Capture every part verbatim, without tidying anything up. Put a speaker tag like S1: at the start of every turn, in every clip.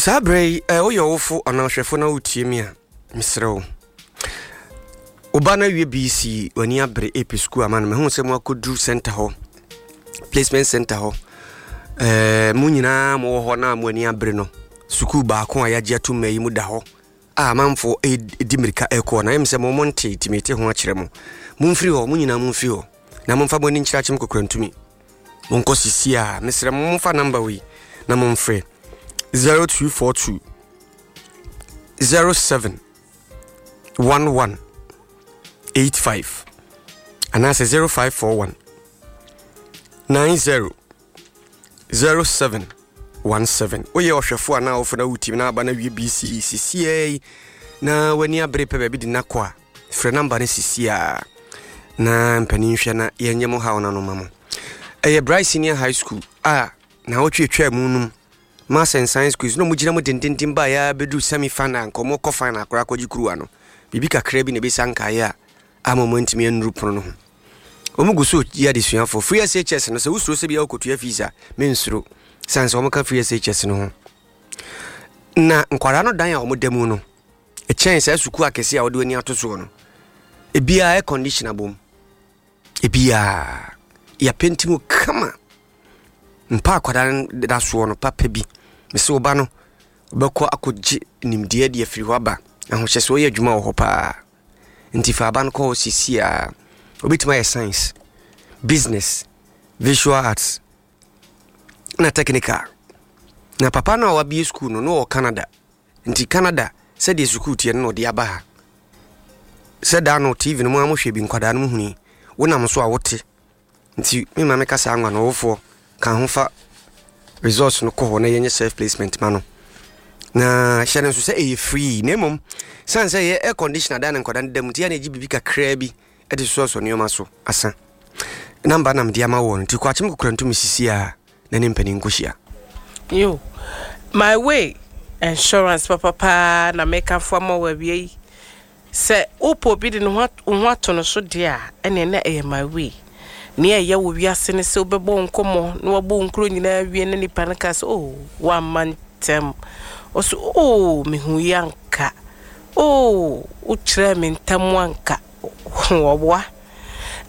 S1: Saa berɛ yi, eh, woyɛ ɔwofo anaa ɔhwɛfo na wotie me a, mesrɛ wo, wo ba no awie B C, w'ani abere ɛpɛ sukuu ama no. Mahu sɛ moakɔduru center hɔ, placement center hɔ. eh, mo nyinaa mowɔ hɔ na mo ani abere no, sukuu baako a yɛagye ato mma yi mu da hɔ a amanfoɔ ɛdi mmirika ɛkɔɔ na ɛm sɛ mo mo nte tumi te ho akyerɛ mo. Momfiri hɔ, mo nyinaa momfiri hɔ na momfa mo ani nkyerɛ Akyem Kokorantumi. Monkɔ sisi a mesrɛ mo, momfa number wei na momfrɛ zero two four two zero seven one one eight five anaasɛ zero five four one nine zero zero seven one seven. Woyɛ ɔhwɛfo anaa wofo na wotim na aba no awie B C E sisiaa yi na w'ani abere pɛ baabi de nakɔ a, frɛ number no sisiaa na mpanin hwɛ na yɛnyɛ mo haw no ano ma mo. Ɛyɛ Bright Senior High School a na wɔtwe atwa mu nom Maths and Science quiz na ɔmo gyina mu dendenden baa yɛ bɛduru semi final, nkɔmɔ kɔ final akora akɔgye kuruwa no. Biribi kakra bi na ɛbɛsa nkaeɛ a ama ɔmo antumi annuru pono no ho. Ɔmo gu so yi adesuafoɔ free S H S no. Sɛ wosuro sɛ bia wokɔtua fees a, mensuro sane sɛ ɔmo ka free S H S no ho. Na nkwadaa no dan a ɔmo da mu no ɛkyɛn saa sukuu akɛseɛ a wɔde w'ani ato soɔ no. Ebiara air condition abom, ebiara yɛapenti mu kama. Mpa akwadaa no da soɔ no papa bi. Mesɛ wo ba no wobɛkɔ akɔgye nimdeɛ de afiri hɔ aba ahohyɛ sɛ ɔyɛ adwuma wɔ hɔ paa. Nti fa aba no kɔ hɔ sisi a wobɛtumi ayɛ science, business, visual arts na technical. Na papa no a wabie school no no wɔ Canada, nti Canada sɛdeɛ sukuu teɛ no na ɔde aba ha. Sɛ daa no T V no mu a mohwɛ bi, nkwadaa no mu huni wonam so a wote. Nti mema meka saa nwa no, ɔwofoɔ ka ho fa results no kɔ hɔ na yɛnyɛ self placement ma no. Na hyɛ no nso sɛ ɛyɛ free, na mmom sane sɛ ɛyɛ air conditioner da ne nkwadaa no da mu, nti yɛ na ɛgye biribi kakraa bi de sosɔsɔ nneɛma so asa. Number na mede ama wɔ no, nti kɔ Akyem Kokorantumi sisi a na ne mpanin nkɔhyia.
S2: Yo, My Way Insurance papapaa na mekamfo ama wo awia yi. Sɛ wopɛ obi de ne ho wo ho ato no so deɛ a, ɛneɛ na ɛyɛ My Way. Nea ɛyɛ wɔ wiase ne sɛ wobɛbɔ wo nkɔmmɔ na wabɔ wo nkuro nyinaa wie na nipa no ka sɛ, "Oh, woamma ntɛm." Ɔso, "Oh, mehu yi anka. Oh, wokyerɛɛ me ntam anka." Wɔboa.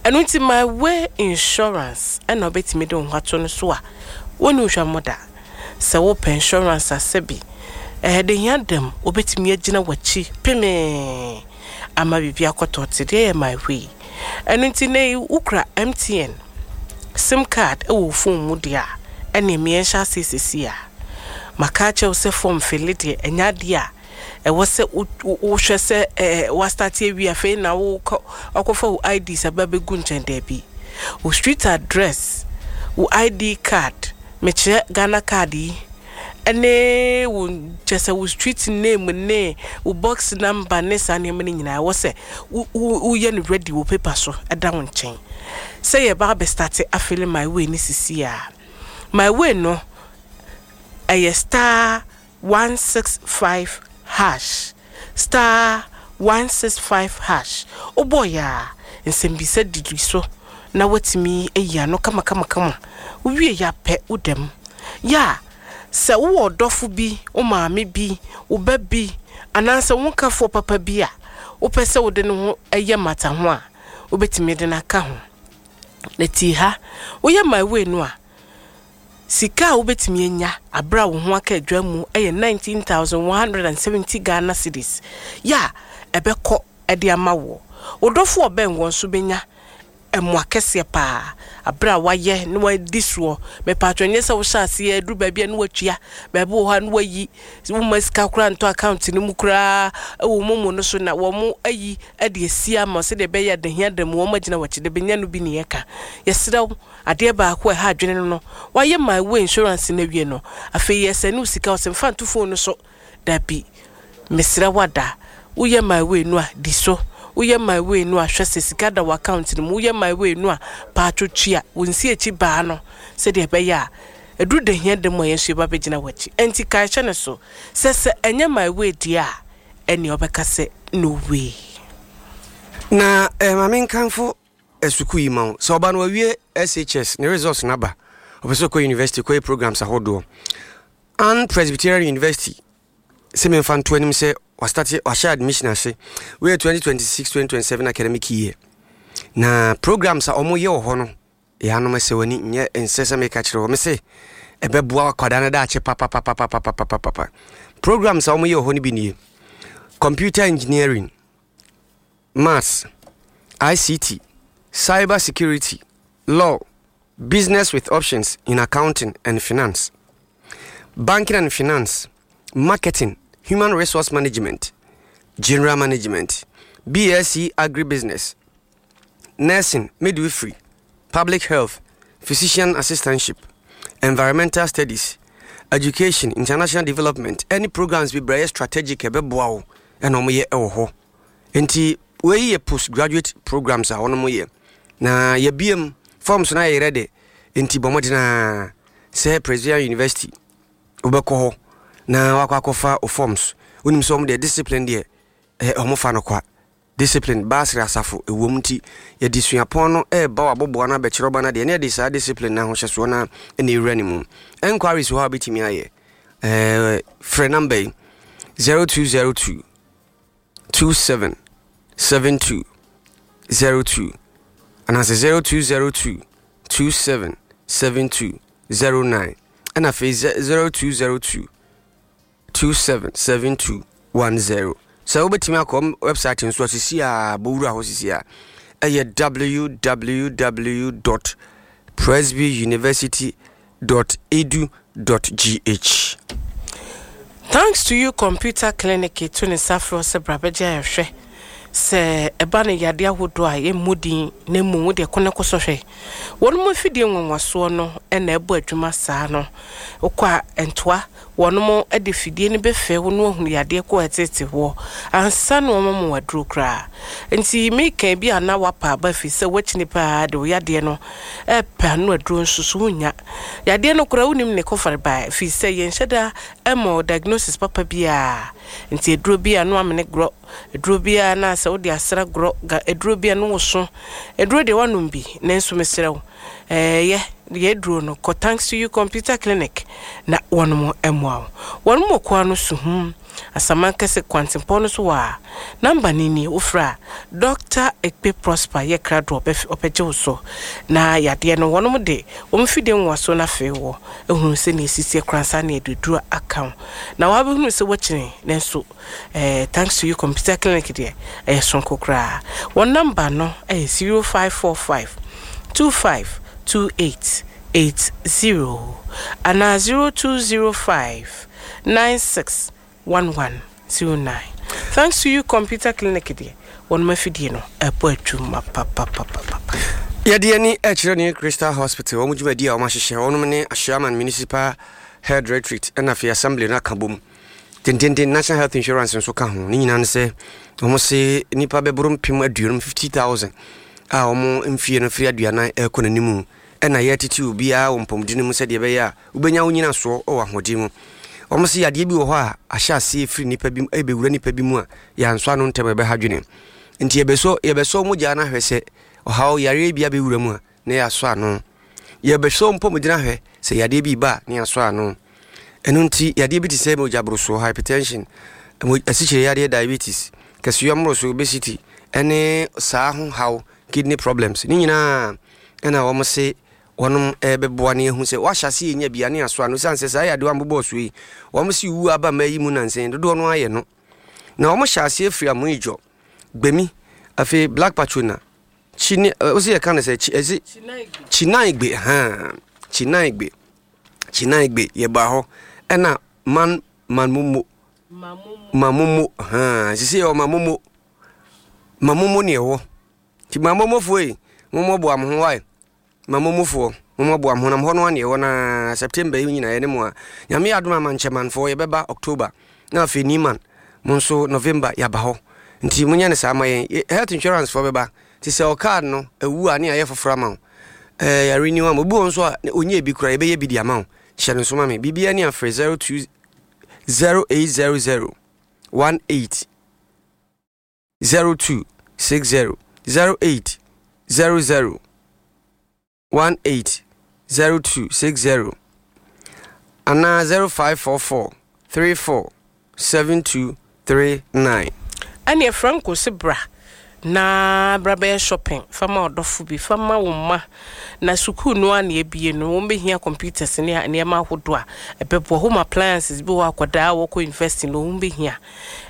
S2: Ɛno nti My Way Insurance ɛna wobɛtumi de wo ho ato no so a wɔne wo hwammɔ da. Sɛ wopɛ insurance asɛ bi, ɛyɛ de hia dam, wobɛtumi agyina w'akyi pemee ama biribi akɔtɔ te deɛ yɛ My Way. Ɛno nti ne yi wokura M T N SIM card ɛwɔ wo phone mu deɛ a, ɛne mmiɛnhyɛ ase sisi a maka akyerɛ wo sɛ form fill deɛ, ɛnyɛ adeɛ a ɛwɔ sɛ wohwɛ sɛ ɛɛ wastart awie afei na wokɔ wakɔfa wo I Ds aba bɛgu nkyɛn. Daabi, wo street address, wo I D card, mekyerɛ Ghana Card yi, ɛne wo kyɛ sɛ wo street name ne wo box number ne saa nneɛma no nyinaa, ɛwɔ sɛ woyɛ no ready wɔ paper so ɛda wo nkyɛn sɛ yɛba abɛstart afill My Way ne sisi a. My Way no ɛyɛ star one six five hash, star one six five hash. Wobɔ yɛ a, nsɛmbisa didi so na watumi ayi ano kamakamakama. Wowie yɛ apɛ wodam yɛ a, sɛ wowɔ ɔdɔfo bi, wo maame bi, wo ba bi, anaasɛ wo nkafoɔ papa bi a wopɛ sɛ wode ne ho ɛyɛ mata ho a, wobɛtumi de no aka ho. Na tie ha, woyɛ My Way no a, sika a wobɛtumi anya aberɛ a wo ho aka adwa mu yɛ nineteen thousand one hundred and seventy Ghana cedis yɛ a ɛbɛkɔ ɛde ama woɔ. Wo dɔfo ɔbɛn wɔn nso bɛnya ɛmoa kɛseɛ paa aberɛ a wayɛ na wadi soɔ. Mepatwɛ, nyɛ sɛ wohyɛ aseɛ aduru baabi a na watua, baabi wɔ hɔ a na wayi woma sika koraa ntɔ account no mu koraa ɛwɔ momo no so na wɔn ayi de asi ama sɛdeɛ ɛbɛyɛ adahia da mu wɔn agyina wɔkyi de bɛnya no bi. Ne yɛka yɛserɛ wo, adeɛ baako a ɛha adwene no no wayɛ My Way Insurance no awie no, afei yɛsɛ ne wo sika ɔsɛ mfa nto phone no so. Dabi, mesrɛ wada, woyɛ My Way no a, di so. Woyɛ My Way no a, hwɛ sɛ sika da wɔ account no mu. Woyɛ My Way no a, paatwo tua wo nsi akyi baa no sɛdeɛ ɛbɛyɛ a ɛduru da hia da mu a yɛn nso yɛba bɛgyina w'akyi. Ɛnti kae hyɛ ne so sɛ sɛ ɛnyɛ My Way deɛ a, ɛnea ɔbɛka sɛ no way.
S1: Na eh, maame nkamfo eh, sukuu yi ma wo. Sɛ ɔba no wawie S H S, ne results no aba, ɔpɛ sɛ ɔkɔ university kɔyɛ programs ahodoɔ. Ann Presbyterian University. Sɛ memfa nto anim sɛ wastart, wahyɛ admission ase. Weyɛ twenty twenty-six twenty twenty-seven academic year, na programs a ɔmoyɛ wɔ hɔ no, yɛanom sɛ w'ani nyɛ nsɛ sɛ meka kyerɛ wɔ me se ɛbɛboa akwadaa no daakye papapapapapapapa. Programs a ɔmoyɛ wɔ hɔ no bi nie: computer engineering, maths, I C T, cyber security, law, business with options in accounting and finance, banking and finance, marketing, human resource management, general management, B S c agribusiness, nursing, midwifery, public health, physician assistantship, environmental studies, education, international development, any programs bi brɛ strategic ɛbɛboa wo ɛna ɔmoyɛ ɛwɔ hɔ. Nti wei yɛ postgraduate programs a wɔnom yɛ, na yɛbiem forms no ayɛ ready. Nti bɔ mmɔden a sɛ Presbyterian University wobɛkɔ hɔ na wakɔ akɔfa o forms. Wonim sɛ ɔmo deɛ, discipline deɛ, ɔmo fa no kwa. Discipline baasere asafo ɛwɔ mu, nti yɛde suapɔn no ɛɛba wabɔboa no abɛkyerɛ ɔba no deɛ, ne yɛde saa discipline no ahohyɛsoɔ no ɛna ɛwura ne mu. Enquiries wɔ hɔ a wobɛtumi ayɛ ɛɛ frɛ number yi: zero two zero two two seven seven two zero two anaasɛ zero two zero two two seven seven two zero nine, ɛna afei zero two zero two two seven seven two one zero. Sɛ wobɛtumi akɔ website nso a, sisi a bɔwura hɔ sisi a ɛyɛ W W W dot presbyuniversity dot edu dot G H.
S2: Thanks to You Computer Clinic to ne nsa frɛ sɛ bra bɛgye ayɛhwɛ sɛ ɛba no yadeɛ ahodoɔ a yɛmmɔ din, na mmom wode ɛkɔ ne kɔ sɔhwɛ wɔn mu afidie nwanwasoɔ no ɛna ɛbɔ adwuma saa no. Wokɔ a, ntoa wɔn mo de fidie no bɛfɛ wo no ahunu yadeɛ kɔ ɛtete hɔ ansa na wɔn mo waduro koraa. Nti meka bi a na wapa aba fi sɛ wakyini paa de wo yadeɛ no ɛpɛ ano aduro nso so wonya yadeɛ no koraa, wonim ne kɔfare ba fi sɛ yɛnhyɛ da ɛma diagnosis papa biara. Nti aduro bi a no amene gorɔ, aduro bi a na sɛ wode asra gorɔ ga, aduro bi a no woso aduro deɛ wanom bi. Nanso mesrɛ wo, ɛɛyɛ yɛ aduro no, kɔ Thanks to You Computer Clinic na wɔnom mmoa wo. Wɔnom wɔ koa no Suhum Asaman Kɛse kwantempɔn no so wɔ a number no ni. Wofrɛ a, Doctor Ekpe Prosper yɛ krado, ɔbɛgye wo so na yadeɛ no wɔnom de wɔn fidie nwaso no afei wɔ ehunu sɛ ne esisi koransa ne aduduro aka wo na wabɛhunu sɛ wɔkyene. Nanso ɛɛ Thanks to You Computer Clinic deɛ, ɛyɛ sonko koraa. Wɔn number no ɛyɛ zero five four five two five two eight eight zero anaa zero two zero five nine six one one zero nine. Thanks to You Computer Clinic deɛ, wɔn afidie no ɛbɔ adwuma papapapapa.
S1: Yɛde ani ɛkyerɛ ne Crystal Hospital wɔn dwumadi a wɔn ahyehyɛ. Wɔn ne Ashaiman Municipal Health Directorate ɛna afei assembly no aka bom tententen. National Health Insurance nso ka ho. Ne nyinaa no sɛ wɔn se nipa bɛboro mpem aduonum, fifty thousand, a wɔn mfie no firi aduanan ɛrekɔ n'anim, ɛna yɛtete obiara wɔ mpɔmuden mu sɛdeɛ ɛbɛyɛ a wobɛnya wo nyinasoɔ wɔ ahoɔden mu. Wɔn sɛ yadeɛ bi wɔ hɔ a ahyɛ aseɛ firi nipa bi ɛbɛwura nipa bi mu a yɛansɔ ano ntɛm, ɛbɛha dwene. Nti yɛbɛsɔ yɛbɛsɔ mogya no ahwɛ sɛ ɔhaw yareɛ bi abɛwura mu a na yɛasɔ ano. Yɛbɛsɔ mpɔmuden ahwɛ sɛ yadeɛ bi ba a na yɛasɔ ano. Ɛno nti yadeɛ bi te sɛ mogya borosoɔ, hypertension, asikyire yadeɛ, diabetes, kɛseyɔ mmoroso, obesity, ɛne saa ho haw, kidney problems ne nyinaa, ɛna wɔn se wɔnom ɛbɛboa ne ahu sɛ wahyɛ ase yɛnya bia ne aso ano. Siane sɛ saa yadeɛ a mbobɔɔ so yi, wɔn se wu aba ma yi mu nansɛn dodoɔ no ayɛ no, na wɔn hyɛ aseɛ firi Amoidwɔ, Gbemi, afei Black Patrona, Chine, ɔsi yɛ ka no sɛ ɛsi Chinaigbe, haa, Chinaigbe, Chinaigbe yɛba hɔ, ɛna man Manmomo, Mamomo, haa, sisi yɛ wɔ Mamomo, Mamomo ne ɛwɔ. Nti Mamomofoɔ yi, mommɔboa mo ho wae. Mamomofoɔ, mommɔboa mo ho nam hɔ no ane ɛwɔ. Na September yi nyinaa yɛne mo a Nyame yɛ adom ama nkyɛmanfoɔ yɛbɛba October, na afei Niman mo nso November yɛaba hɔ. Nti monyɛ no saa ma yɛn. Health insurance foɔ bɛba nti sɛ ɔcard no ɛwu a ne ayɛ foforɔ ama wo, ɛɛ yɛrenew ama obi wɔ nso a ɔnyɛ bi koraa, yɛbɛyɛ bi de ama wo. Hyɛ no nso ma me. Biribiara ni afrɛ zero two zero eight zero zero one eight zero two six zero, zero eight zero zero one eight zero two six zero anaa zero five four four three four seven two three nine.
S2: Ɛneɛ Franco se bra na bra bɛyɛ shopping fa ma ɔdɔfo bi, fa ma wo mma. Na sukuu no a na ebie no, wɔn bɛhia computers ne nneɛma ahodoɔ a ɛbɛboa. Home appliances bi wɔ akwadaa a wɔkɔ university no, wɔn bɛhia.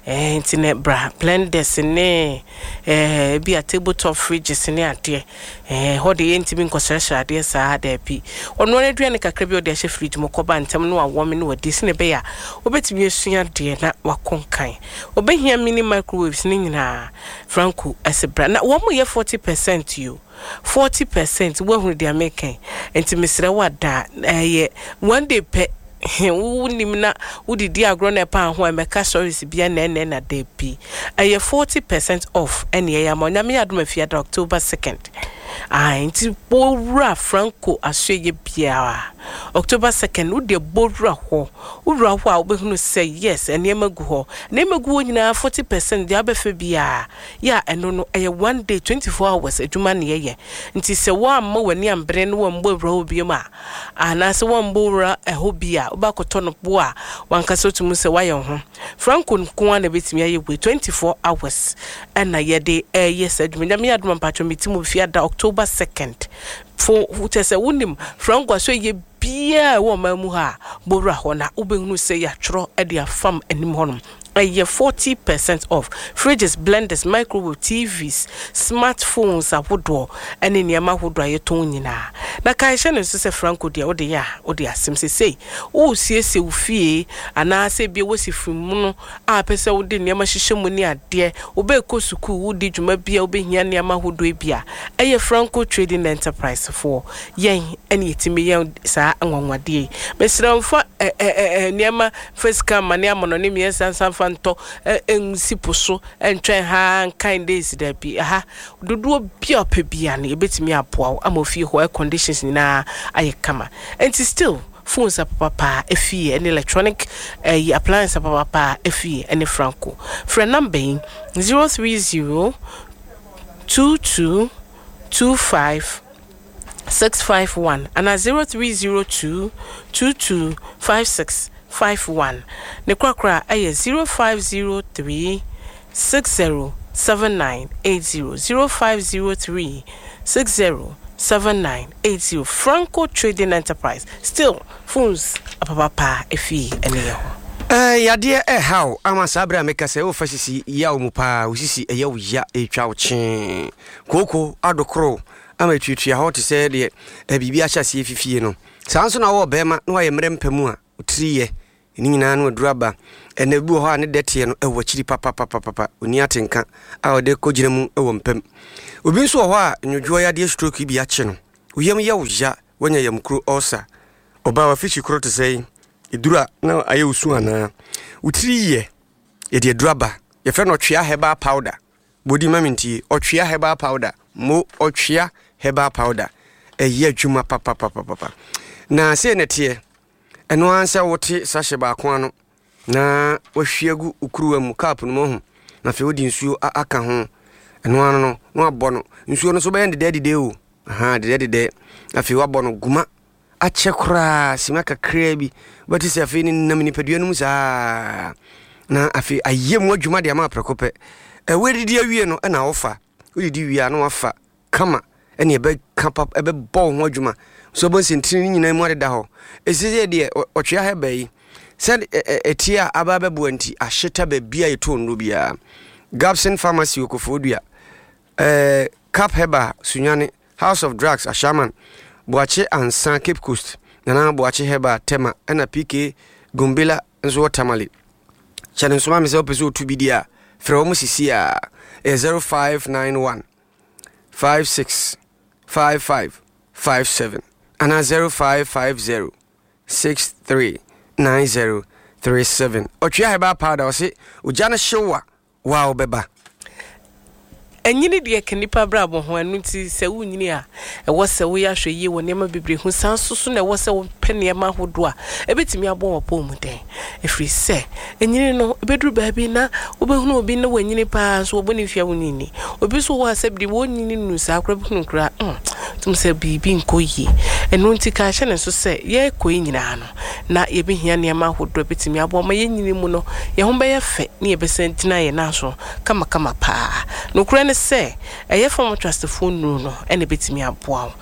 S2: ɛɛ nti na bra, blenders ne ɛɛ bi a table top fridges ne adeɛ. ɛɛ hɔ de yɛntumi nkɔsrɛsrɛ adeɛ saa, daabi. Ɔno ara aduane kakra bi a ɔde ahyɛ fridge mu kɔba ntɛm no awɔme no wadi sene ɛbɛyɛ a wobɛtumi asua adeɛ na wakɔ nkan. Obɛhia mini microwaves ne nyinaa. Franco ɛsɛ bra na wɔn mo yɛ forty percent yi o, forty percent. Woahunu deɛ mekan? Nti mesrɛ wo, ada ɛyɛ one day pɛ. Wonim na wodidi agorɔ na ɛpa ho a ɛmɛka stories bia nɛɛnɛɛ na daabi. Ɛyɛ forty percent off ɛne ɛyɛ ama Onyame yɛ adom afiada October second. Ah, nti bɔwura Franco asoɛyɛ biara October second, wode bɔwura hɔ. Wowura hɔ a, wobɛhunu sɛ yes, nneɛma gu hɔ, nneɛma gu hɔ nyinaa forty percent. Deɛ wobɛfɛ biara yɛ a, ɛno no ɛyɛ one day, twenty four hours adwuma ne yɛyɛ. Nti sɛ woamma w'ani ambere no wɔmbɔ wura hɔ biom a, anaasɛ wɔmbɔ wura ɛhɔ bi a, wobɛakɔtɔ no bo a wankasa wotumi sɛ woayɛ wo ho. Franco nko ara na ɛbɛtumi ayɛ wei. Twenty four hours ɛna yɛde ɛyɛ saa adwuma. Nyame yɛ adom, mpatwɔ meti mu fiada October second fo kyɛ sɛ wonim Franco aso yɛ biaa ɛwɔ ɔman mu ha a, bɔwura hɔ na wobɛhunu sɛ yɛatwerɛ de afam anim hɔnom. Ɛyɛ forty percent off fridges, blenders, microwave, T Vs, smartphones ahodoɔ ɛne nneɛma ahodoɔ a yɛtɔn nyinaa. Na kae hyɛ no nso sɛ Franco deɛ, wode yɛ a wode asɛm sesei wosiesie wo fie anaasɛ bia wosi firi mu no a pɛ sɛ wode nneɛma hyehyɛ mu ne adeɛ, wobɛkɔ sukuu, wodi dwuma bi a wobɛhia nneɛma ahodoɔ bi a, ɛyɛ Franco Trading Enterprise foɔ yɛn ɛne yɛtumi yɛn saa anwanwadeɛ yi. Mesrɛ, mfa nneɛma fa sika ma ne amono ne mmiɛnsa nsa mfa ntɔ nsi po so ntwɛn ha nkan days, daabi. Aha dodoɔ bi a ɔpɛ bia no, yɛbɛtumi aboa wo ama ofie hɔ air conditions nyinaa ayɛ kama. Nti still phones apapapa efie ɛne electronic ɛyi appliance apapapa efie ɛne Franco. Frɛ number yi: zero three zero two two two five six five one ana zero three zero two two two five six five one. Ne korakora ɛyɛ zero five zero three six zero seven nine eight zero, zero five zero three six zero seven nine eight zero. Franco Trading Enterprise, still phones apapapa efie ɛne yɛ hɔ.
S1: Eh, yadeɛ ɛhaw ama saa berɛ a meka sɛ wofa sisi yaw mu paa, wo sisi ɛyɛ wo ya, ɛtwa wo kyee, kooko adokoro ama ɛtuatua hɔ te sɛ deɛ eh, biribi ahyɛ aseɛ fifie no. Saa nso na wɔwɔ bɛrima na wayɛ mmerɛ mpɛ mu a wotiri yɛ ne nyinaa no aduru aba. Ɛnɛ bi wɔ hɔ a ne dɛteɛ no ɛwɔ akyiri papapapapa, ɔni atenka a ɔde kɔgyina mu ɛwɔ mpam. Obi nso wɔ hɔ a nnwodwoɔ yadeɛ, stroke bi akye no, wo yam yɛ wo ya, woanya yamkuro, ulcer, ɔbaa wafikyi koro te sɛ yi ɛduru a na ayɛ wo su anaa wo tiri yɛ, yɛde aduru aba, yɛfrɛ no Ɔtwea Herbal Powder. Bɔdi ma mentie, Ɔtwea Herbal Powder mo, Ɔtwea Herbal Powder ɛyɛ adwuma papapapapa. Na sei na ɛteɛ, ɛno ara sɛ wote sachet baako ano na wahwie agu wo kuruwa mu, cup no mu ahu, na afei wode nsuo aka ho. Ɛno ano no na wabɔ no nsuo no so bɛyɛ dedɛ dedɛ o, aha dedɛ dedɛ. Afei wabɔ no guma akyɛ koraa, sima kakraa bi wobɛte sɛ afei ne nam nipadua no mu saa, na afei ayɛ mu adwuma de ama aprɛko pɛ. Ɛwɔ adidi awie no ɛna wofa, wodidi wie a na wafa kama, ɛne ɛbɛka pa, ɛbɛbɔ wo ho adwuma so ɛbɔ nsɛntini no nyinaa mu adeda hɔ. Ɛsi sɛ deɛ Ɔtwea Herbal yi sɛ ɛtie a aba bɛboa nti ahyeta baabi a yɛtɔ nnuro biara: Gabson Pharmacy wɔ Kofoɔdua, ɛɛ Cap Herbal Sunyane, House of Drugs Ashaman, Boakye Ansa Cape Coast, Nana Boakye Herbal Tema, ɛna P K Gombela nso wɔ Tamale. Kyɛ ne nsoma me sɛ wopɛ sɛ wotu bi di a, frɛ wɔ mo sisi a ɛyɛ zero five nine one five six five five five seven anaa zero five five zero six three nine zero three seven. Ɔtwea Herbal Powder, ɔse ogya no hyew a waa wobɛba.
S2: Ɛnyini deɛ ka nipa brabɔ ho. Ɛno nti sɛ wonyini a, ɛwɔ sɛ woyɛ ahwɛ yie wɔ nneɛma bebree ho. Saa nso so na ɛwɔ sɛ wopɛ nneɛma ahodoɔ a ɛbɛtumi abɔ wɔ pɔn mu den, ɛfiri sɛ ɛnyini no ɛbɛduru baabi na wobɛhunu obi na wanyini paa nso wɔbɔ ne mfia wo nyini. Obi nso wɔ hɔ a sɛ bere wɔnyini nu saa koraa bɛhunu koraa mm Tum sɛ biribi nkɔ yie. Ɛno nti ka hyɛ ne nso sɛ yɛrekɔ yi nyinaa no na yɛbɛhia nneɛma ahodoɔ bɛtumi aboa ma yɛn nyini mu no yɛn ho bɛyɛ fɛ ne yɛbɛsan gyina yɛn nan so kamakama paa. Nokorɛ ne sɛ ɛyɛ Pharma Trustfoɔ nnuro no ɛna ɛbɛtumi aboa wo.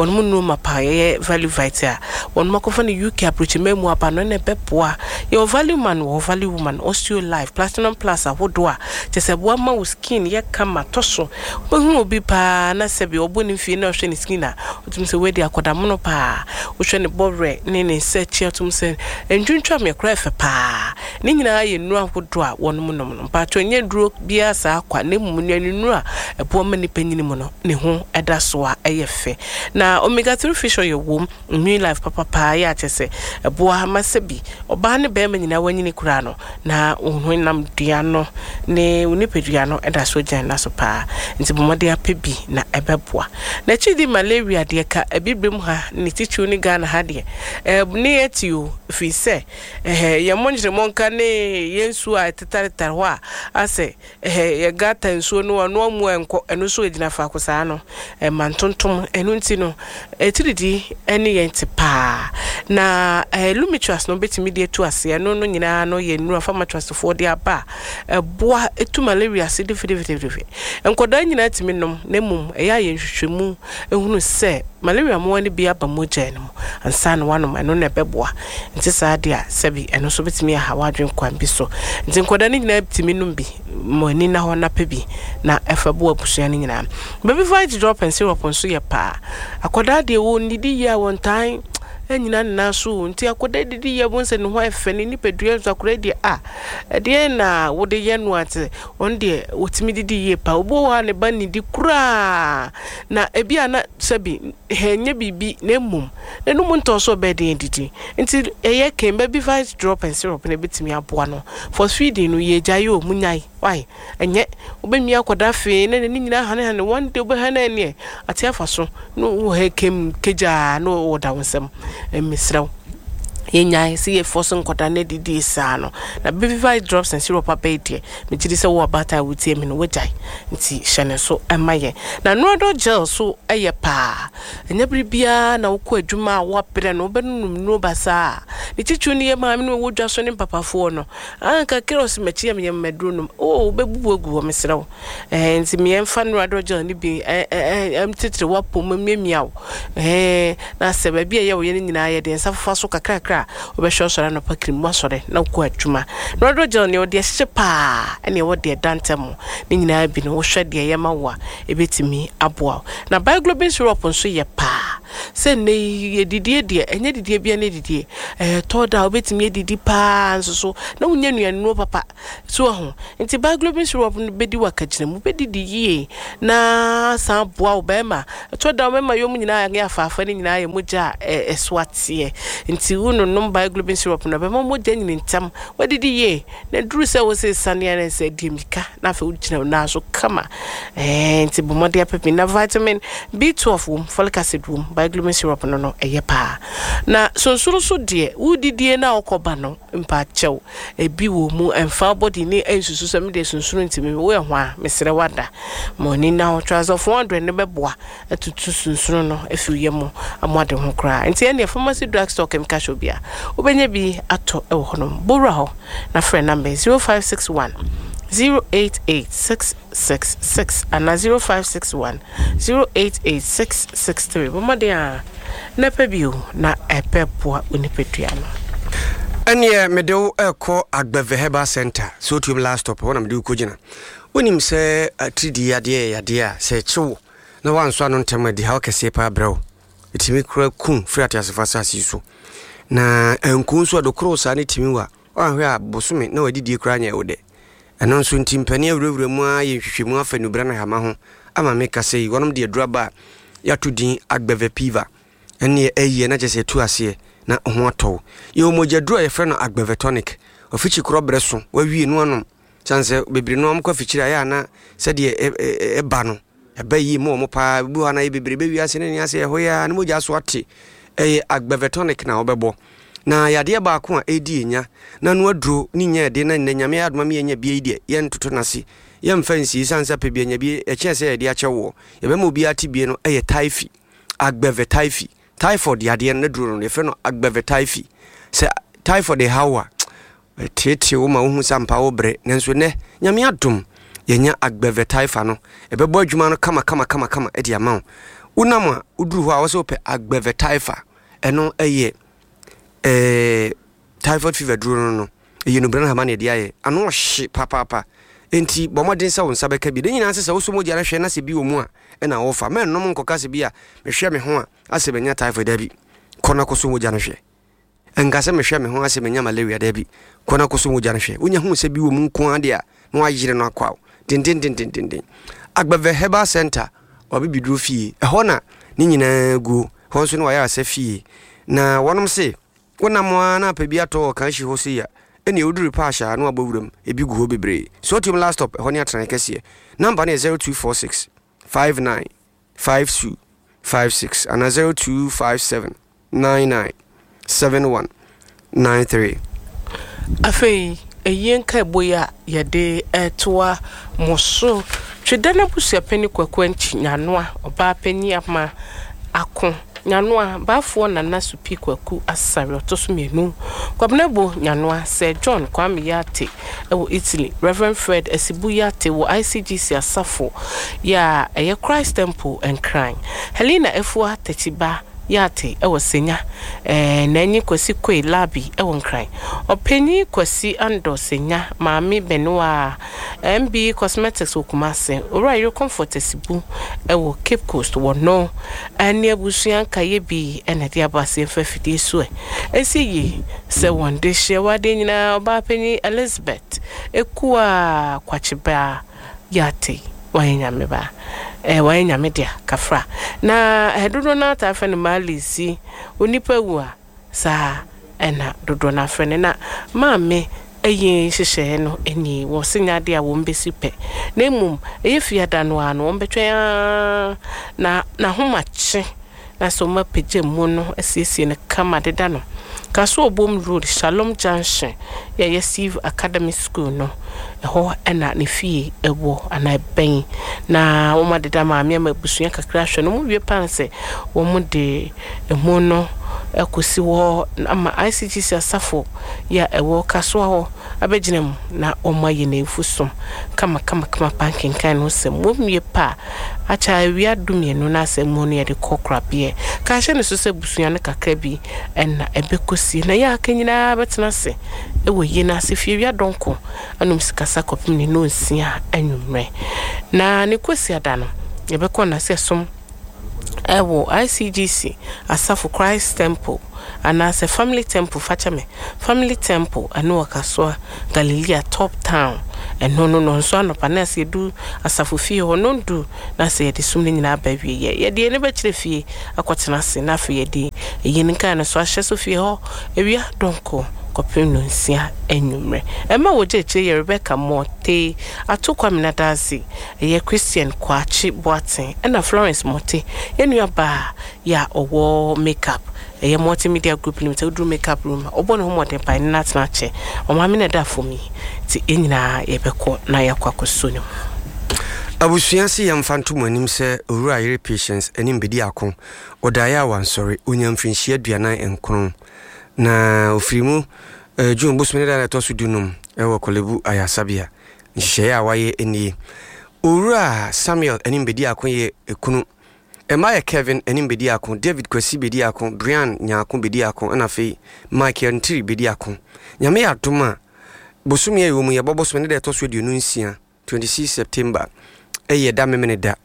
S2: Wɔn mu nnuro ma paa yɛyɛ Value Vite a wɔn mu akɔfa no U K aburokyima mu aba no ɛna ɛbɛboa. Yɛwɔ Value Man, wɔ Value Woman, Osteo Life, Platinum Plus ahodoɔ a kyɛ sɛ boa ma wo skin yɛ kama tɔ so. Wobɛhu obi paa na sɛbi ɔbɔ ne mfie na ɔhwɛ ne skin a, wotumi sɛ wadi akɔdamono paa. Wohwɛ ne bɔwerɛ ne ne nsa akyi a, wotumi sɛ ntwintwam yɛ koraa ɛfɛ paa. Ne nyinaa yɛ nnuro ahodoɔ a wɔnom nom no. Mpaatwɔ, nyɛ duro biara saa kwa, na mmom nnuane nnuro a ɛboa ma nipa nyini mu no ne ho ɛda so a ɛyɛ fɛ. Na omega three fish oil wom, Immune Life papapaa yɛ akyɛ sɛ ɛboa ma sɛbi ɔbaa ne bɛrima nyinaa wanyini koraa no na wo honam dua no ne wo nipadua no ɛda so gyina na so paa. Nti bɔ mmɔden apɛ bi na ɛbɛboa. Na akyi di malaria deɛ, ka abibirem ha ne titiriw ne Ghana ha deɛ, ɛɛ ne yɛ ti o, firi sɛ ɛhɛ yɛn mo nkyerɛmɔnka ne yɛn nsuo a ɛtetaretare hɔ a asɛ ɛhɛ yɛ gutter nsuo no ɔno amu ɛnkɔ, ɛno nso gyina faako saa no ɛma ntontom. Ɛno nti no atiridii ɛne yɛn te paa. Na ɛɛ Lumitrust no bɛtumi de atu aseɛ. Ɛno no nyinaa no yɛ nnuro a Pharma Trustfoɔ de aba a ɛboa etu malaria ase defidefidefide. Nkɔdaa nyinaa tumi nom, na mmom ɛyɛ a yɛn nhwehwɛmu ehunu sɛ malaria mmoa no bi aba mogya no mu ansa na wanom. Ɛno na ɛbɛboa. Nti saa deɛ a sɛbi ɛno nso bɛtumi aha wadwen kwan bi so. Nti nkɔdaa no nyinaa tumi nom bi. Mo ani na hɔ na pɛ bi na ɛfa bo abusua no nyinaa. Baby Vite Drop and Syrup nso yɛ paa. Akɔdaa deɛ wɔn didi yie a, wɔn tan ɛnyina ne nan so. Nti akɔdaa didi yie wɔn sɛ ne ho ayɛ fɛ, ne nipadua nso. Akɔdaa deɛ a ɛdeɛ na wode yɛ no ate wɔn deɛ wɔtumi didi yie paa. Obi wɔ hɔ a ne ba nidi koraa na ebi a na sɛbi ɛnyɛ biribi, na mmom n'anum ntɔ so ɔbɛyɛ den didi. Nti ɛyɛ ken Baby Vite Drop and Syrup na ebɛtumi aboa no. For feeding no yɛ gya yi o, mu nyae why ɛnyɛ wobɛmia akɔda afei na n'ani nyinaa hanehane. One day wobɛha no ɛneɛ ate afa so na wɔ ha kem kegyaa na wɔda wo nsɛm. Mesrɛ wo, yɛnyae sɛ yɛfɔ so nkɔda no adidi saa no. Na Baby Vite Drops and Syrup abɛyi deɛ, megye di sɛ wo ɔbaatan a wotie mi no wogyae. Nti hyɛ ne so ɛma yɛn. Na Noradol Gel so ɛyɛ paa. Ɛnyɛ bere biara na wokɔ adwuma a woabrɛ no wobɛnonom nnuro basaa. Ne titiriw no yɛ maame no ɛwɔ dwa so ne mpapafoɔ no anka kra ɔsɛ makyi yɛ meyɛ mmaduro nom o, wobɛbubu agu hɔ. Mesrɛ wo, ɛɛ nti meyɛmfa Noradol Gel no bi ɛɛ titiri wapɔ mu miamia wo ɛɛ na sɛ baabi a ɛyɛ wo yɛ no nyinaa yɛde nsa fofa so kakrakra a, wobɛhwɛ ɔsɔre anɔpa kirim wasɔre na wokɔ adwuma. Noradol Gel neɛ wɔde ahyehyɛ paa ɛne ɛwɔ deɛ ɛda ntɛm ne nyinaa bi no, wohwɛ deɛ ɛyɛ ma wo a, ɛbɛtumi aboa wo. Na Biglobin Syrup nso yɛ paa sɛ nnɛ yi yɛdidie deɛ, ɛnyɛ didie bia ne didie ɛyɛ tɔ da a wobɛtumi adidi paa nso so na wonya nnuanuro papa so ho. Nti Biglobin Syrup no bɛdi wakagyina mu, bɛdidi yie na san boa wo bɛrima. Ɛtɔ da wo bɛrima yɛ mu nyinaa yɛ afaafa no nyinaa yɛ mogya a ɛso ateɛ. Nti wononom Biglobin Syrup no, bɛma mogya nyini ntɛm, wadidi yie na duru sɛ wo sɛ saneɛ ne sɛ di mmirika na afei wogyina wo nan so kama. ɛɛ nti bɔ mmɔden apɛ na vitamin B twelve wom, folic acid wom. Biglobin Syrup no no ɛyɛ paa. Na sonsoro so deɛ, wodidie na wokɔba no mpakyɛw, ebi wɔ mu ɛmfa bɔdi ne ɛnsusu sɛ medeɛ sonsoro ntimi woyɛ ho a, mesrɛ wada ma ɔni na hɔ. Transfer four hundred ne bɛboa atutu sunsunu no afiri yɛ mu ama ade ho koraa. Nti ɛneɛ pharmacy, drug store, chemical shop bi a wobɛnya bi atɔ ɛwɔ hɔnom. Bowura hɔ na frɛ number zero five six one zero eight eight six six six anaa zero five six one zero eight eight six six three. Bɔmmɔden a na pɛ bio na ɛbɛboa onipadua no.
S1: Ɛneɛ mede wo ɛkɔ Agbɛvɛ Herbal Center sɛ wotuom last stop hɔ na mede wo kɔgyina. Wonim sɛ atiridii yadeɛ yɛ yadeɛ a sɛ ɛkye wo na woansɔ ano ntɛm adi haw kɛseɛ paa brɛ wo. Ɛtumi kora kum firi ateasefo asase yi so na anku nso ɛdokoro saa ne tumi wa woanhwɛ a bosome na wadidie koraa nyɛ wo dɛ. Ɛno nso nti mpani awurawura mu a yɛ nhwehwɛmu afa nubra no hama ho ama meka sɛ yi wɔnom de aduru aba a yɛato din Agbɛvɛ Piva. Ɛneɛ ɛyɛ na kyɛ sɛ ɛtu aseɛ na ho atɔw. Yɛwɔ mogyaduru a yɛfrɛ no Agbɛvɛ Tonic. Ɔfikyi korɔ berɛ so wawie no anom sane sɛ bebree no ɔmkɔ afikyiri a ɛyɛ ana sɛdeɛ ɛba no ɛba yie mu ɔmo paa. Bi hɔ na yɛ bebree bɛwie ase ne ne ase ɛhɔ yɛ a ne mogya so ate. Ɛyɛ Agbɛvɛ Tonic na wɔbɛbɔ na yadeɛ baako a ɛdi ɛnya na no aduro ne nya ɛde na nnɛ Nyame adoma mi yɛnya bie yi deɛ, yɛntoto n'ase, yɛmfa nsie sane sɛ pɛ bi anya bie ɛkyɛn sɛ yɛde akyɛ woɔ. Yɛbɛma obiara te bie no. Ɛyɛ typhi. Agbeve Typhi. Typhoid yadeɛ no duro no yɛfrɛ no Agbeve Typhi. Sɛ typhoid ɛhaw a, ɛteetee wo ma wohu sɛ ampa wo brɛ. Nanso nnɛ, Nyame adom, yɛnya Agbeve Typha no. Ɛbɛbɔ adwuma no kama kama kama kama de ama wo. Wonam a woduru hɔ a, wɔ sɛ wopɛ Agbeve Typha. Ɛno ɛyɛ ɛɛ typhoid fever duro no no. Ɛyɛ nubra no hama na yɛde ayɛ. Ano ɔhye papaapa. Enti bɔ mmɔden sɛ wo nsa bɛka bi. Ne nyinaa sɛ sɛ wosɔ mogya no hwɛ na sɛ bi wɔ mu a, ɛna wɔfa. Mɛnnom nkɔka sɛ bi a mehwɛ me ho a asɛ manya typhoid, dabi. Kɔ na kɔsɔ mogya no hwɛ. Nka sɛ mehwɛ me ho asɛ manya malaria, dabi. Kɔ na kɔsɔ mogya no hwɛ. Wonya hu sɛ bi wɔ mu nko ara deɛ a, na wayere no akɔ awo. Dendendendenden. Agbeve Herbal Center, wabibiduro fie. Ɛhɔ na ne nyinaa guo. Hɔ nso ne wayɛ asɛ fie. Na wɔnom se, wonam a na apɛ bi atɔ wɔ kan hyi hɔ sei a, ɛne woduru paahyɛ a na wabɔ wuram. Ebi gu hɔ bebree. Sɔtium last stop, ɛhɔ ne atenae kɛseɛ. Number no yɛ zero two four six five nine five two five six anaa zero two five seven nine nine seven one nine three.
S2: Afei ɛyie nkaebɔ yi a yɛde ɛtoa mo so, Tweda no abusuapani Kwaku Ankyi Nyanoa, ɔbaa panyin ama ako Nyanoa baafoɔ Nana Supi Kwaku Asare ɔtɔ so mmienu, Kwabenabo Nyanoa, Sir John Kwame Yate ɛwɔ Italy, Reverend Fred Asibu Yate wɔ I C G C asafo yɛ a ɛyɛ Christ Temple Nkran, Helena Efua Takyiba Yate ɛwɔ Senya, ɛɛ n'anyi Kwasi Koe Labi ɛwɔ Nkran, ɔpanyin Kwasi Andɔ Senya, Maame Benua M B Cosmetics wɔ Kumase, Owura Yere Comfort Asibu ɛwɔ Cape Coast wɔ no ɛne abusua nkaeɛ bi ɛna ɛde aba ase mfa afidie so ɛ ɛsi yie sɛ wɔn de hyɛ wadeɛ nyinaa. Ɔbaa panyin Elizabeth Ekua Kwakyebaa Yate, wayɛ Nyame ba, ɛɛ wayɛ Nyame dea kafra na ɛdodoɔ no ata afɛ no Maalisi onipa wu a saa ɛna dodoɔ no afrɛ no. Na maame ɛyɛ nhyehyɛeɛ no ani wɔ se nyɛ adeɛ a wɔn bɛsi pɛ, na mmom ɛyɛ fiada no a no wɔn bɛtwɛn aa na n'ahomakye na sɛ wɔn apagya mu no asiesie no kama deda no Kaso Obom Road, Shalom Junction, yɛyɛ Steve Academy School no, ɛhɔ ɛna ne fie ɛwɔ anaa ɛbɛn na wɔn adeda maame ama abusua kakra ahwɛ no. Wɔn wie pan sɛ wɔn de emu no ɛkɔsi hɔ ama I C G C asafo yɛ a ɛwɔ Kasoa hɔ abɛgyina mu na wɔn ayɛ n'efu som kama kama kama pa nkenkan no sɛm. Wɔn wie pa a akyɛ awia du mmienu na asɛm mu no yɛde kɔ korabeɛ kahyɛ ne so sɛ abusua no kakra bi ɛna ɛbɛkɔsi na yɛ aka nyinaa bɛtena ase ɛwɔ yie no ase fie awia dɔnko anom sikasa kɔpem ne nonsia anwummerɛ. Na ne kɔsi ada no yɛbɛkɔ nase ɛsom ɛwɔ I C G C asafo Christ Temple anaasɛ Family Temple, fakyɛ me, Family Temple, ɛno wɔ Kasoa Galilea Top Town. Ɛno no no nso anɔpa na sɛ yɛdu asafo fie hɔ no ndu na sɛ yɛde som no nyinaa ba wie yɛ yɛde yɛn bɛkyerɛ fie akɔtena ase na afei yɛde ɛyi no nkae no so ahyɛ so fie hɔ awia dɔnko kɔpem no nsia anwummerɛ. Ɛma wɔgye akyire yɛ Rebecca Mɔte Ato Kwamina Daase, ɛyɛ Christian Kwakye Boaten, ɛna Florence Mɔte, yɛn nua baa yɛ a ɔwɔ makeup, ɛyɛ Multimedia Group Limited. Woduru makeup room a ɔbɔ ne ho mmɔden pa ne n'atena akyɛ ɔmaame na ɛda fam yi nti yɛn nyinaa yɛbɛkɔ na yɛakɔ akɔso ne mu.
S1: Abusua se yɛmfa nto mo anim sɛ Owura Yere Patience anim bɛdi ako ɔdaeɛ a wansɔre. Ɔnya mfirinhyia aduanan nkron na ɔfiri mu eh, June bosome ne da a ɛtɔ so dunum ɛwɔ Korle Bu ayasabea. Nhyehyɛeɛ a wayɛ nie: Owura Samuel anim bɛdi ako yɛ ekunu. Ɛma yɛ Kevin anim bɛdi ako, David Kwasi bɛdi ako, Brian Nyaako bɛdi ako, ɛna afei Michael Ntiri bɛdi ako. Nyame yɛ adom a, bosome a ɛwɔ mu yɛbɔ bosome ne da ɛtɔ so aduonu nsia, twenty-six September, ɛyɛ da Memene da,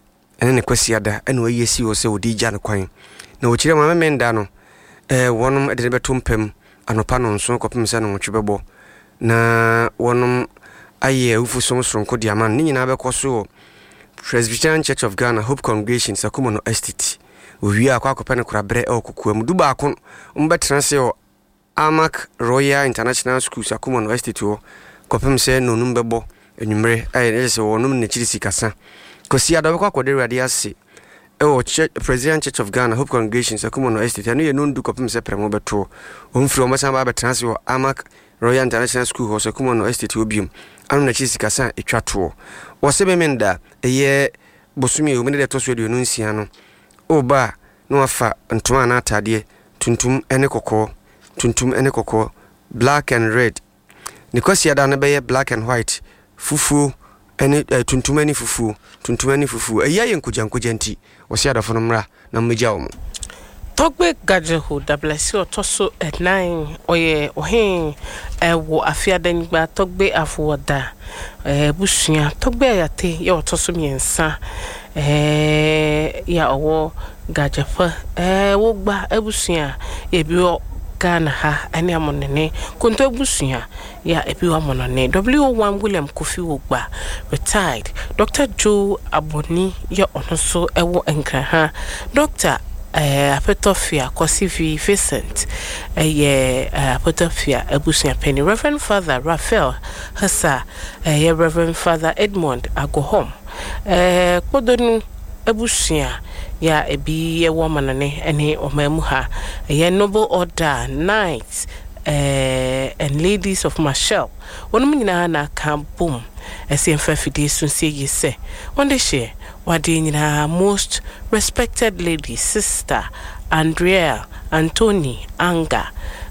S1: ɛne ne Kwasi ada ɛna wayi asi hɔ sɛ wɔde gya no kwan. Na wɔkyerɛ ma Memene da no ɛɛ wɔnom de ne bɛto mpam anɔpa no nson kɔpem sɛ no nwɔtwe bɛbɔ na wɔnom ayɛ awufo som soronko de ama no. Ne nyinaa bɛkɔ so wɔ Presbyterian Church of Ghana, Hope Congregation, Sakumono Estate. Owie a, akɔ akɔpɛ no koraberɛ ɛwɔ kokoa mu du baako. Wɔbɛtena ase wɔ Amac Royal International School, Sakumono Estate hɔ kɔpem sɛ nonum bɛbɔ anwummerɛ, ɛyɛ ɛyɛ sɛ wɔnom n'akyiri sikasa. Kwasi ada bɛkɔ akɔda Awurade ase ɛwɔ Church, Presbyterian Church of Ghana, Hope Congregation, Sakumono Estate. Ɛno yɛ nondu kɔpem sɛ prɛmo bɛtoɔ. Wɔmfiri wɔn bɛsan ba abɛtena ase wɔ Amac Royal International School hɔ, Sakumono Estate hɔ biom ano n'akyiri sikasa a ɛtwa toɔ. Wɔsɛ Memenda, ɛyɛ bosome a ɛwɔ mu ne deɛ ɛtɔ so aduonu nsia no, ɔba a Na wafa ntoma anaa ataadeɛ tuntum ne kɔkɔɔ, tuntum ne kɔkɔɔ, black and red. Ne Kwasiada no bɛyɛ black and white, fufuo ne eh, tuntum ne fufuo, tuntum ne fufuo. Ɛyi ayɛ nkogyankogya nti, wɔsi adɔfo no mmra na mmegya wɔn.
S2: Togbe Gadzeho Dablasi ɔtɔ so ɛnan, ɔyɛ ɔhen ɛwɔ Afiadanyigba Togbe Afoɔda abusua. Togbe Ayate yɛ ɔtɔ so mmiɛnsa ɛɛ yɛ a ɔwɔ Gadzefa ɛɛ Wogba abusua yɛ bi wɔ Ghana ha ɛne Amonene Konto abusua yɛ a ebi wɔ Amonone. W one William Kofi Wogba, retired Doctor Joe Aboni yɛ ɔno nso ɛwɔ Nkran ha. Doctor ɛɛ Apɛtɔfia Kɔsivi Vincent ɛyɛ ɛɛ Apɛtɔfia abusua panyin. Reverend Father Raphael Hasa, ɛyɛ Reverend Father Edmond Agohom, ɛɛ Kpodonu abusua yɛ a ebi ɛwɔ Amanone ɛne ɔman mu ha, ɛyɛ Noble Order Knights ɛɛ and Ladies of Marshall, wɔn nyinaa na aka bom ɛsɛ mfa afidie so nsie yie sɛ wɔn de hyɛ wadeɛ nyinaa Most Respected Lady Sister Andrea Anthony Anga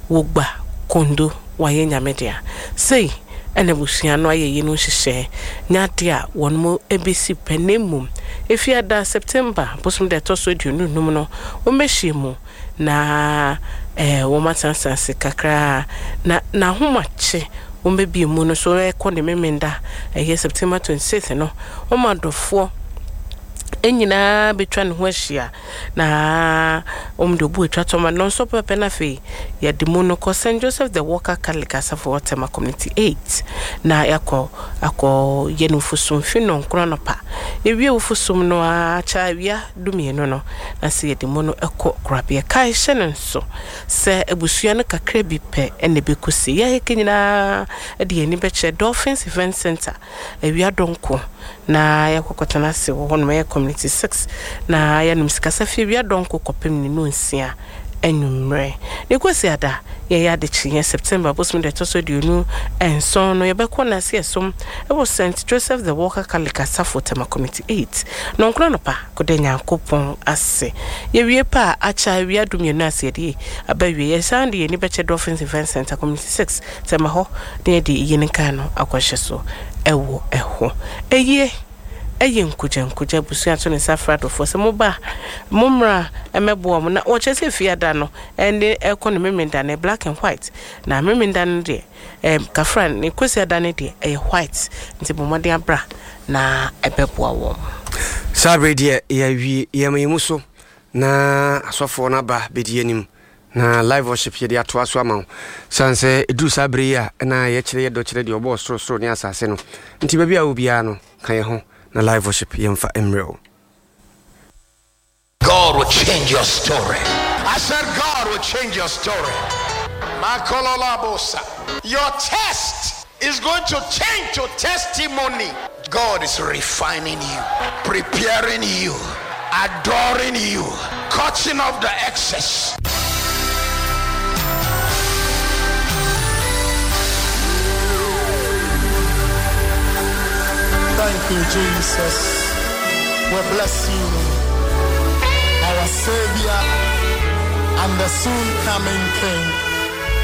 S2: Wogba Kondo wayɛ Nyame dea. Sei ɛna abusua no ayɛ yi no nhyehyɛ nyade a wɔn mo bɛsi pɛ, na mmom efiada September bosom deɛ ɛtɔ so aduonu num no, wɔn bɛhyia mu na ɛɛ wɔn atenatena ase kakraa na n'ahomakye wɔn bɛbie mu no so ɛkɔ ne Memenda, ɛyɛ September twenty six no, wɔn adɔfoɔ nyinaa bɛtwa ne ho ahyia na wɔn de obu atwa tɔma no nso pɛpɛ. Na afei yɛde mu no kɔ Saint Joseph the Worker Catholic Asafo, Ɔtɛma Community eight, na yɛakɔ akɔ yɛ no fosom fi nɔnkron anɔpa. Yɛwie wo fosom no akyɛ awia dumienu no, na sɛ yɛde mu no ɛkɔ korabea. Kae hyɛ no nso sɛ abusua no kakra bi pɛ ɛna ɛbɛkɔsi yɛayɛka nyinaa de yɛn ani bɛkyerɛ Dolphins Event Center awia dɔnko na yɛakɔkɔtena ase wɔ hɔnom, ɛyɛ Community six, na yɛnom sikasa fie awia dɔnko kɔpem ne no nsia anwummerɛ. Ne Kwasi ada yɛyɛ adekyeeɛ September bosom deɛ ɛtɔ so aduonu nson no, yɛbɛkɔ nase ɛsom ɛwɔ Saint Joseph the Worker Catholic Asafo, Tema Community eight, nɔnkron anɔpa kɔda Nyankopɔn ase. Yɛwie pa a, akyɛ awia dumienu ase yɛde aba wie. Yɛsan de yɛni bɛkyɛ Dolphins Event Center, Community six, Tema hɔ, na yɛde iyi ne nkaa no akɔhyɛ so ɛwɔ ɛhɔ. Ɛyie ɛyɛ nkogya nkogya. Abusua to ne nsa fra adɔfoɔ sɛ moba, mommra ɛmɛboa mo. Na wɔkyerɛ sɛ fiada no ɛne ɛkɔ ne Memenda no black and white, na Memenda no deɛ ɛm kafra, ne Kwasi ada no deɛ ɛyɛ white. Nti bɔ mmɔden abra na ɛbɛboa wɔn.
S1: Saa berɛ deɛ yɛawie yɛma yɛ mu so na asɔfoɔ no aba bɛdi anim na live worship yɛde atoa so ama wo, sane sɛ ɛduru saa berɛ yi a na yɛkyerɛ yɛdɔ kyerɛ deɛ ɔbɔɔ sorosoro ne asase no. Nti baabi a wo biara no, ka yɛ ho na live worship yɛmfa mmerɛ wo.
S3: God will change your story. I said, God will change your story. Makololabosa. Your test is going to change to testimony. God is refining you, preparing you, adoring you, cutting off the excess.
S4: Thank you, Jesus. We bless you, our Savior and the soon coming King.